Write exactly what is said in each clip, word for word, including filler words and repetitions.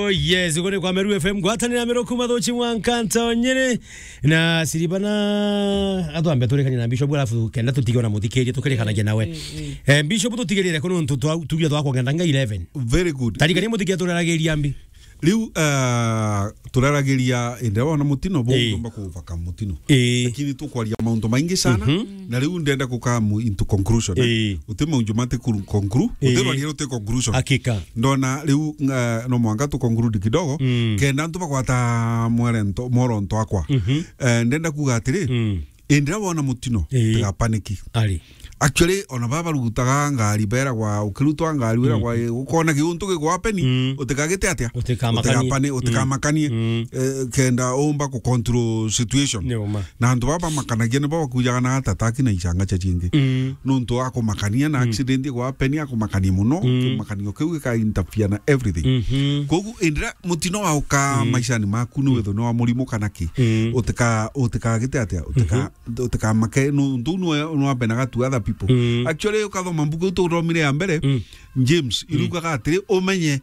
Oh, yes, kuri kwa Meru F M, ngwatanira Meru kuma Thuchi mwanka Ntonyere. Na Siribana, atwambe turikanie na Bishop, alafu kenda tutige ona muthikiria, tukirikanagia nawe. Eh, Bishop, tutigirire kuno ntu twa, tugia twa kugenda nga eleven. Very good. Tarikania muthikiria turaragiria mbi. Riu, ah, turaragiria indi wona mutino, bo Ii. Ngomba kuvaka mutino. Ii. Lakini tukwaria maundu maingi sana, Mhm. na riu ndenda kuka mu-, into conclusion, eh. Ii. Uti maundu mati kuru-, conclu-, Ii. Uti rwaria ruti conclusion. Hakika. Ndona riu, nga-, no mwanka tu conclude kidogo, Mm. Kenda antu bagwata mwerento-, mworonto akwa. Mhm. Eh, ndenda kuga atiri, Mm. Indi riria wona mutino, Ii. Tiga panic. Ari. Actually, ona baba barutaga ngari, beragwa, ukirutwa ngari, wiragwa, Mm. Ukona kiuntu gikwa peni, Mm. Utikagite atia? Utikamakanie. Utikapani-, Mm. Utikamakanie. Mm. Eh, kenda umba ku control situation. Ni uma. Na antu baba bamakanagia nibo bakujaga na heart attack na ichanga cha chingi. Mm. Nuntu akumakania na Mm. accident igwa peni, akumakania muno, Mm. Kimakanio kiu gika interfere na everything. Mhm. Kogu, indi riria mutino wauka Mm. maishani maku, ni Mm. witho ni wa murimu kana ki? Mm. Utika-, utikagite atia? Utika-, Mhm. Utikamake, no, ntu nwe, nwe benaga to other people. Mm. Actually, ukathoma mbuku iu tuthomire ya mbere, Mm. James, Mm. Irugaga atiri, umenye,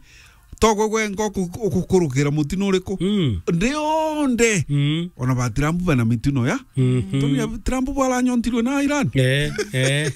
togwe gwenka uku-, ukukurukira mutino uriku. Mm. Nthi yonthe, Mm. ona ba Trump bena mitino ya. Mhm. Tontu ya Trump bwaranyontirwe na Iran. Eh, eh.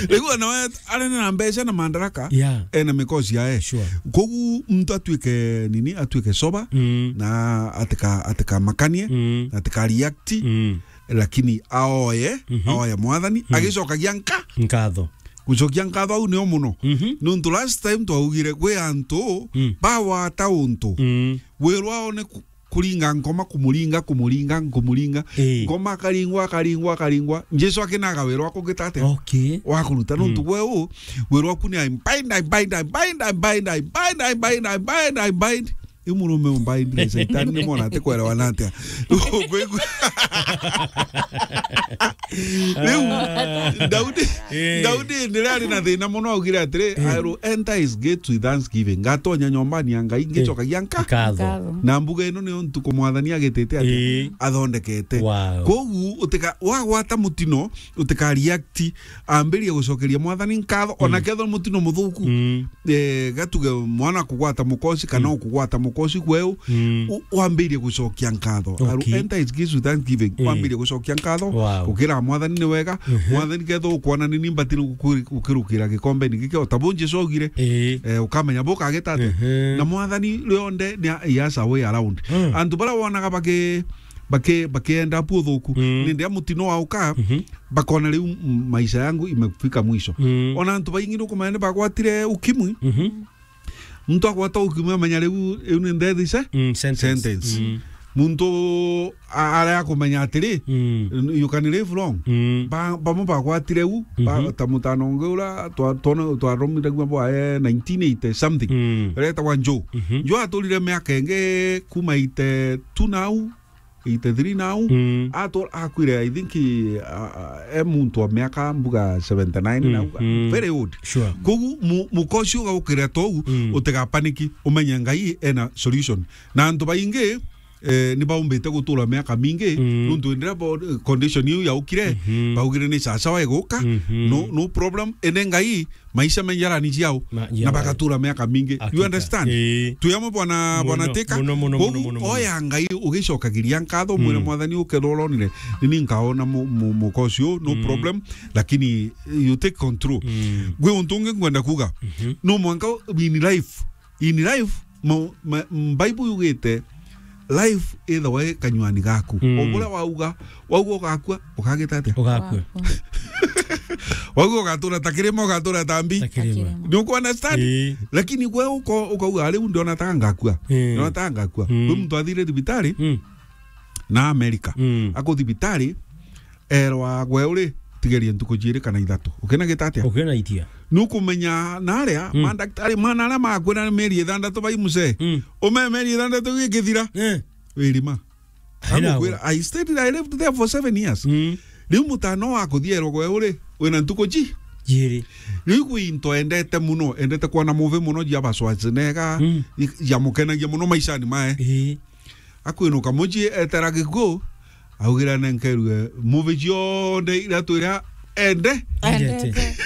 Riu ona we arene na mbeca na mandaraka, Yeah. Ena mikosi yae. Sure. Kogu muntu atuike nini, atuike sober, Mm. na atika-, atikamakanie, Mm. na atika react, Mm. Lakini aoye, Mhm. Aoye Mwathani, Mm. Agicokagia nka-, Nkatho. Gucokia nkatho au nio muno. Mhm. Nuntu last time twaugire gwi antu Mm. bawata untu. Mm. Wirwa one ku-, kuringa ngoma, kumuringa, kumuringa, kumuringa. Ii. Ngoma akaringwa, akaringwa, akaringwa. Jesu akinaga wirwa kugita atia? Okay. Wakuruta nuntu Mm. gwe u, wirwa ku ni I bind, I bind, I bind, I bind, I bind, I bind, I bind, I bind. Iu murume umbaindire Shaitani ni mwana ati kwelewana atia? Ukwigua? Riu, Daudi, Eh. Daudi ni riria ari na thina muno augire atiri, Eh. "I will enter his gates with thanksgiving." Ngatonya nyombani ya Ngai, ngicokagia nka-, Nkatho. Nkatho. Na mbuga ino niyo ntuku Mwathani agitite atia? Eh. Athondekete. Wow. Kogu, utika-, wagwata mutino, utika react, ambirie gucokeria Mwathani nkatho, ona Mm. kethwa mutino muthuku. Mm. Eh, gatuge mwana kugwata mukosi kana Mm. ukugwata mukosi kweu, Mm. u-, wambirie gucokia nkatho. Okay. Aru enter his gates with thanksgiving. Mm. Wambirie gucokia nkatho, Wow. ukira Mwathani ni wega. Mhm. Mwathani ketho ukwona ni ni mbatire gukuri-, gukirukira gikombeni giki, o ta bu Jesu augire. Eh. Eh, ukamenya bu kagita atia. Mhm. Na Mwathani rionde ni a-, he has a way around. Mm. Antu bara wonaga baki-, baki-, bakienda pu uthuku. Mm. Ni ndia mutino wa uka, Mhm. bakona riu m-, maisha yangu imefika mwisho. Mm. Ona antu baingi nukumenya ni bagwatire ukimwi. Mhm. Muntu agwata ukimwi amenya riu, iu ni death se-, Mm, sentence. Sentence. Mm. Muntu a-, aria akumenya atiri, Mm. you can live long. Mm. Ba-, bamwe bagwatire u, ba-, Mm-hmm. ta mutano ungi ura twa-, twona-, twaromiragua bwa, eh, nineteen eighty something. Mm. Uretagwa Joe. Mm-hmm. Joe aturire miaka ingi kuma eighty-two nau, eighty-three nau. Mm. Atura, akwire, I think, a, a, e muntu wa miaka mbuga seventy-nine Mm, nau, mm. Very old. Sure. Kogu mu-, mukosi ugaukira tou, Mm. utigapaniki, umenye Ngai ena solution. Na antu baingi, eh, ni baumbite gutura miaka mingi, Mm. nuntu indira bo-, condition iu yaukire, Mhm. baugire ni sasawa iguka, Mhm. no, no problem, ene Ngai, maisha menjarani ciao, Ma-, na yeah. Bagatura miaka mingi. You Hakika. Understand? Ii. Twi amwe bwana, bwana Muno, Teka? Muno, muno, Kogu muno, muno, muno. Oya Ngai ugicokagiria nkatho, mwire Mm. Mwathani ukethwa uronire, ni ni nkaona mu-, mu-, mukosi uu, no Mm. problem, lakini you take control. Mm. Gwi untu ungi ngwenda kuga, Mhm. no mwanka in life, in life, ma-, ma-, Bible yugite, life ithagwa i kanywani gaku. Mm. O buria wauga, wauga ugakua, ukagita atia? Ugakua. Wauga ugatura ta kirima, ugatura ta mbi. Ta kirima. Kirima. Ni uku understand? Ii. Lakini gwe uko-, ukauga, "Riu ndiona ta ngakua." Ii. Ndiona ta ngakua. Mm. Gwi muntu athire thibitari Mm. na America. Mm. Aku thibitari, erwa gwe uri, tigeria ntuku ciiri kana ithatu. Ukina gita atia? Ukina itia. Nukumenya na aria, Mm. mandaktari, mwana aria makwira ni mieri ithandatu bai mucee. Mm. Ume mieri ithandatu gikithira. Eh. Wirima. Haina Agukwira, gwe. I stayed, I lived there for seven years. Mm. Riu mutano wa kuthierwa gwe uri, wina ntuku ci? Ciiri. Riu gwi into endete muno, endete kwona movie muno cia ba Schwarzenegger, Mm. i-, ciamukenagia muno maishani mae. Ii. Akwinuka mucii etera gikuo, augire anenkerue movie cionthe iria twira ende. Endete. Endete.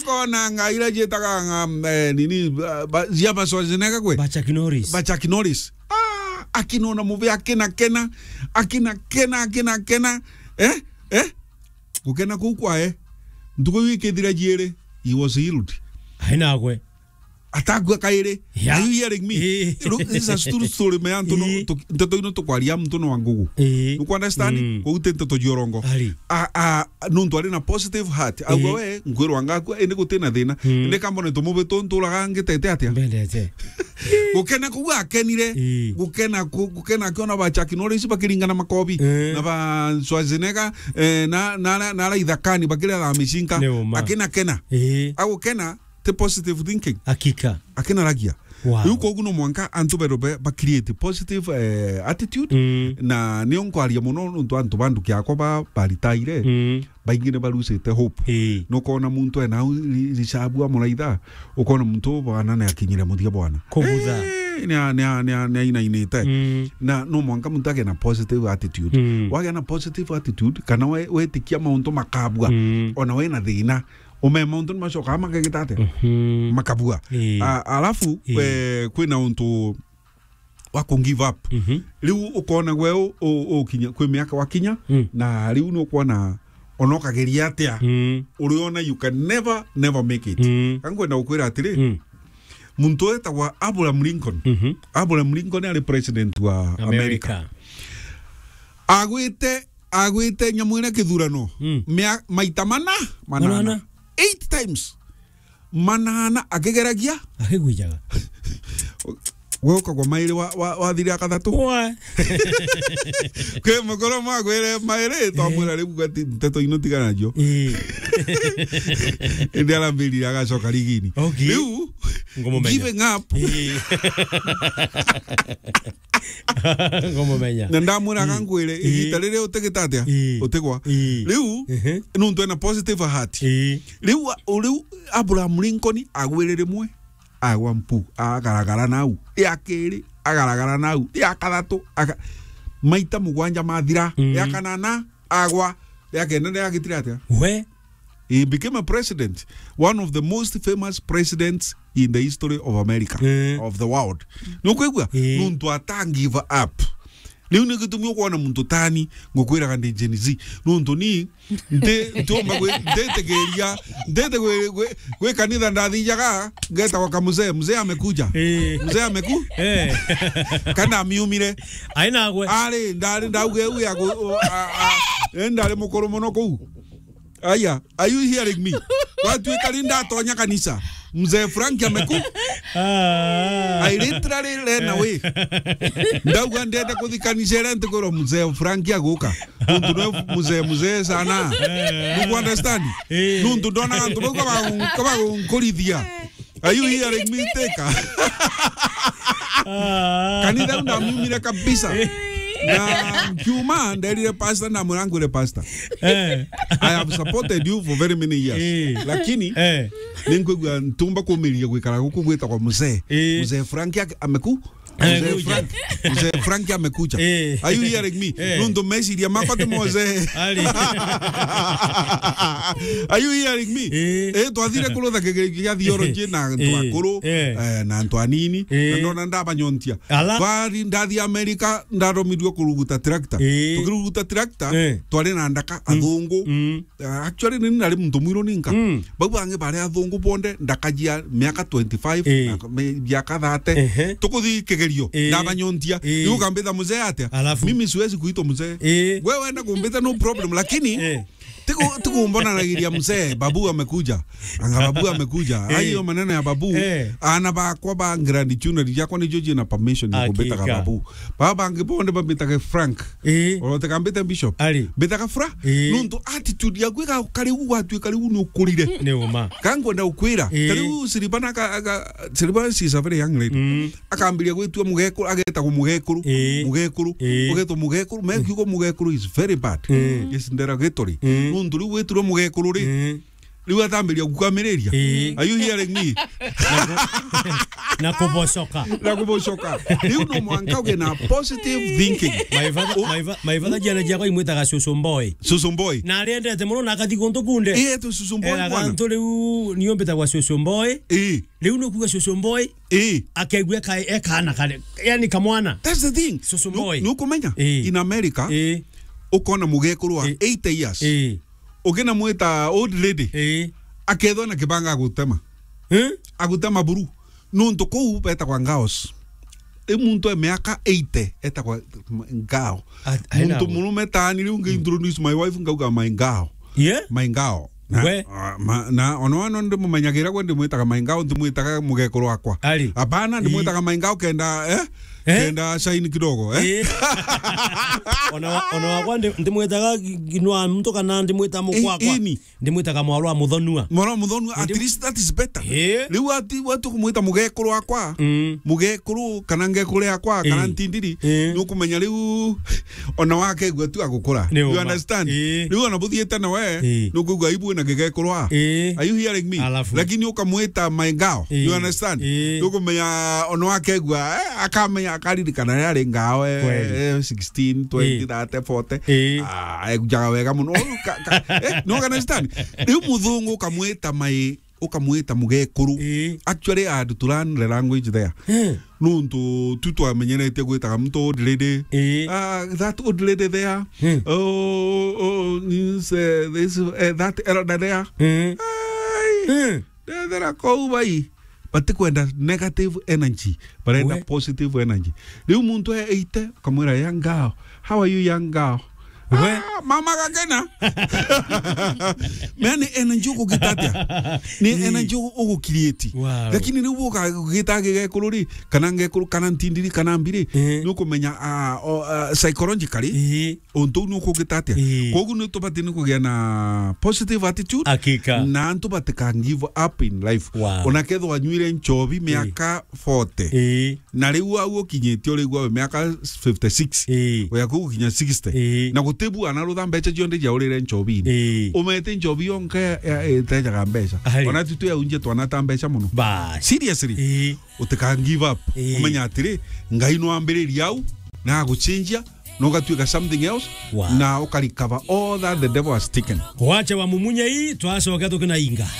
Kona nga ira cietaga nga, eh, nini, ba, ba, cia ba Schwarzenegger kwe? Ba Chuck Norris. Ba Chuck Norris. Ah, akinona mubi, akina kena, akina kena, akina kena. Eh? Eh? Gukena kuu kwae. Ntuku iu ikithira ciiri, he was healed. Ai nagwe. Atakua kairi. Yeah. Are you hearing me? Eh. Look, this is a true story, man. Ntu no, eh, tu-, nteto ino tukwaria muntu no wa ngugu. Eh. You understand? Mm. Kou ti nteto cia urongo. Ari. A, a, nuntu ari na positive heart. Auga, eh, we, nkwirwa ngakua, indi guti na thina. Mm. Indi kambone tumubi tu nturaga ngitete atia? Mbendete. Gukena kuu akenire. Eh. Gukena ku-, gukena akiona ba Chuck Norris bakiringana makobi. Eh. Na ba Schwarzenegger, eh, na, na, na, na ara ithakani bakiria thaa micinka. Ni uma. Akina kena. Eh. Agukena ti positive thinking. Hakika. Akinaragia. Wow. Riu koguo no mwanka antu berwe be-, ba create positive, eh, attitude. Mm. Na nio nkwaria muno nontu antu ba nduki yakwa ba-, baritaire, mm, baingi ni barusite hope. Ii. Nukona muntu ena au ri-, ricabu amuraitha, ukona muntu bwana ni akinyire muthia bwana. Kugutha. Eh, ni a-, ni a-, ni a-, ni ainainite. Mm. Na no mwanka muntu agie na positive attitude. Mm. Wagia na positive attitude, kana we-, wetikia mauntu makabua, mm, ona wena thina, ume mauntu ni macokaga makegita atia? Mhm. Makabua. Ii. A-, alafu, ii, eh, kwina untu wa ku give up. Mhm. Riu ukona gwe u-, u-, ukinya, kwi miaka wakinya, mm, na riu ni ukwona ona ukageria atia, mm, uriona you can never, never make it. Mm. Ka nkwenda gukwira atiri, mm, muntu wetagwa Abraham Lincoln. Mhm. Abraham Lincoln ari president wa America. America. Agwite, agwite nyamu iria kithurano. Mm. Mia-, maita mana, manana. Manana. Eight times. Manana akigeragia. Akigwijaga. Gwe ukagwa mairi wa, wa, wathire akathatu. Wa. Kwi mukuru mwagwire mairi, twamwira, eh, riu gati nteto ino tigana nacio. Eh. Indi arambirire agacoka rigini. Okay. Riu, ngumumenya, giving up. Eh. Ngumumenya. Na ndamwira, mm, kangwire, ii, igita riria utigita atia? Ii. Utigwa. Ii. Riu, ehe, nuntu ena positive heart. Ii. Riu a-, riu Abraham Lincoln agwire rimwe, agwa mpu, agaragara nau. Ria keri, agaragara nau. Ria kathatu, aga-, maita mugwanja mathira. Mm. Ria kanana, agwa. Ria kenda ni agitire atia? We. He became a president, one of the most famous presidents in the history of America, eh, of the world. Nukwigua? Eh. Nuntu ata give up. Riu ni gitumi ukwona muntu tani, ngukwiraga ndi Gen Z. Nuntu ni, nti-, ntiumba gwi-, nditigiria, nditi gwi-, gwi-, gwi kanitha ndathijaga, ngeta kwa kamuzee, mzee amekuja. Eh. Mzee ameku-, eh, kana amiumire. Ai nagwe. Ari, ndari ndauge u ya gu-, u-, a, a, eh, ndari mukuru muno kuu. Aya, are you hearing me? Watuika ni ndatonya kanisa, mzee Frank ameku-, ah, I literally ran away. Ndauga ndenda kuthi kanisa iria ntikwirwa mzee Frank aguka. Nuntu ni mzee, mzee sana. Do you understand? Eh. Nuntu ndonaga antu bau kabagun-, kabagunkurithia. Are you hearing me, Teka? Ah. Kanitha u ndamiumire kabisa. Na nkiuma, nderire pastor, ndamwira, ngwire pastor, eh, I have supported you for very many years. Eh. Lakini, eh, ninkwigua ntumba kumiria gwikara guku gwitagwa mzee. Eh. Mzee Frank ake-, ameku-, Mzee amekuja. Frank, Mzee Frank amekuja. Eh. Are you hearing me? Eh. Nuntu meciria makwa ti mozee. Ari. Are you hearing me? Eh. Eh, twathire kurutha kigerio kia theology na antu, eh, akuru, eh, eh, na antu anini. Eh. Na ndona ndabanyontia. Ala. Twari ndathi America, ndathomithirio kuruguta tractor. Eh. Tukiruguta tractor, eh, twari na ndaka, mm, athungu. Mm. Ah, actually, ni nari muntu mwiru ninka. Mm. Bau bangi bari athungu bonde, ndakajia miaka twenty-five, eh, na me-, miaka thirty. Ehe. Tukuthi kigerio, eh, ndabanyontia. Eh. Riu ukambitha mzee atia? Alafu? Mimi siwezi kuitwa mzee. Eh. Wewe wenda kumbita, no problem, lakini, eh, tiku-, tikumbonanagiria mzee, babu amekuja. Anga babu amekuja. Eh. Hayo maneno ya babu. Eh. Ana bakwa ba grand junior yakwa nijo jina permission ya kumbitaga, hakika, babu. Baba bangi bonde bambitaga Frank. Ii. Oro tekambite bishop. Ari. Mbitaga Fra. Ii. Nuntu attitude yaku ika-, kariu gwatuika riu ni ukurire. Ni uma. Ka nkwenda gukwira, ii, kariu Siriba na ka-, ka-, Siriba, she is a very young lady. Mm. Akambiria gwitua mugekuru, agetagwo mugekuru. Ii. Mugekuru. Ii. Ugetwo mugekuru. Me kiugo mugekuru is very bad. Ii. Is derogatory. Ii. Nuntu riu gwitirwe mugekuru ri, ii, riu atambiria gukwamiriria. Ii. Are you hearing me? Na kubocoka. Na kubocoka. Riu no mwanka uge na positive thinking. My father, my fa-, my father, ciana ciakwa imwitaga cucu boy. Cucu boy. Na ariendete muno na akathi guntu kunde. Ii, etu cucu boy. Eraga bwana. Antu riu niumbitagwa cucu boy. Ii. Riu ni kuga cucu boy. Ii. Akegua ka-, ekana kare. Yani kamwana. That's the thing. Cucu boy. Nu-, nukumenya? Ii. In America, ii, ukona mugekuru wa, ii, eighty years. Ii. Ukina mwita old lady. Ii. Akethwa na kibanga agutema. Eh? Agutema buru. Nuntu kuu betagwa ngaos. I muntu e miaka eighty etagwa m-, ngao. A-, aina muntu gu- murume taani riu ngi introduce my wife ngauga my ngao. Yeah? My ngao. Na, we? Ah, ma-, na ona wana ndimumenyagira gwe ndimwitaga my ngao, ndimwitaga mugekuru wakwa. Ari? Hapana, ii, ndimwitaga my ngao kenda, eh? Eh? Kenda shine kidogo, eh? Eh. Ona wa-, ona wakwa ndi-, ndimwitaga gi-, ginwa muntu kana ndimwita mukwakwa. I-, ini. Ndimwitaga mwarwa muthonua. Mwarwa muthonua, at least that is better. Eh. Riu ati, watu kumwita mugekuru wakwa, mm, mugekuru kana ngekuru yakwa, kana, eh, ntindiri, eh, nukumenya riu ona wakegua tu agukura. You understand? Eh. Riu ona buthiete na we, eh, nukuigua aibu na gigekuru wa. Eh. Are you hearing me? Alafu. Lakini ukamwita my ngao. Eh. You understand? Eh. Nukumenya ona wakegua, eh, akamenya akaririkana yari ngao, eh, kweli, eh, sixteen, twenty, eh, thirty, forty. Eh. Ah, egujaga wega muno. Ka-, ka-, eh, no kana Stan. Riu muthungu ukamwita mai, ukamwita mugekuru. Eh. Actually, I had to learn the language there. Eh. Nuntu tu twamenyerete gwitaga muntu old lady. Eh. Ah, that old lady there. Eh. Oh, oh, is, eh, this, eh, that elder there. Eh. Ai. Eh. Ndethera kou bai, batikwenda negative energy, barenda, we, positive energy. Riu muntu e eite, ukamwira, "Young girl, how are you, young girl?" We. Ah, mama gakena. Mea ni energy ugugita atia? Ni, ii, energy ugu-, ugu create. Wow. Lakini riu ugagita gigekuru ri, kana ngekuru, kana ntindiri, kana mbiri, eh, ni ukumenya, ah, o, ah, psychologically, ii, untu uu ni ukugita atia? Ii. Koguo ni tubatii ni kugia na positive attitude. Hakika. Na antu batika give up in life. Wow. Ona kethwa wanyuire nchobi, ii, miaka forty. Ii. Na riu au ukinyitie urigwa we miaka fifty-six. Ii. Uya kuu gukinya sixty. Ii. Na gutibu ana rutha mbeca cionthe cia urire nchobini. Ii. Umete nchobi yonka ya, ya, itejaga mbeca. Ahari. Ona tu tuyaunjie twana ta mbeca muno. Bas. Seriously. Ii. Utika give up. Ii. Umenya atiri, Ngai no ambiririe au, na aguchinjia, na ugatuika something else, wow, na ukarecover all that the devil has taken. Wacha wa mumunye hii, twacoka tukinainga.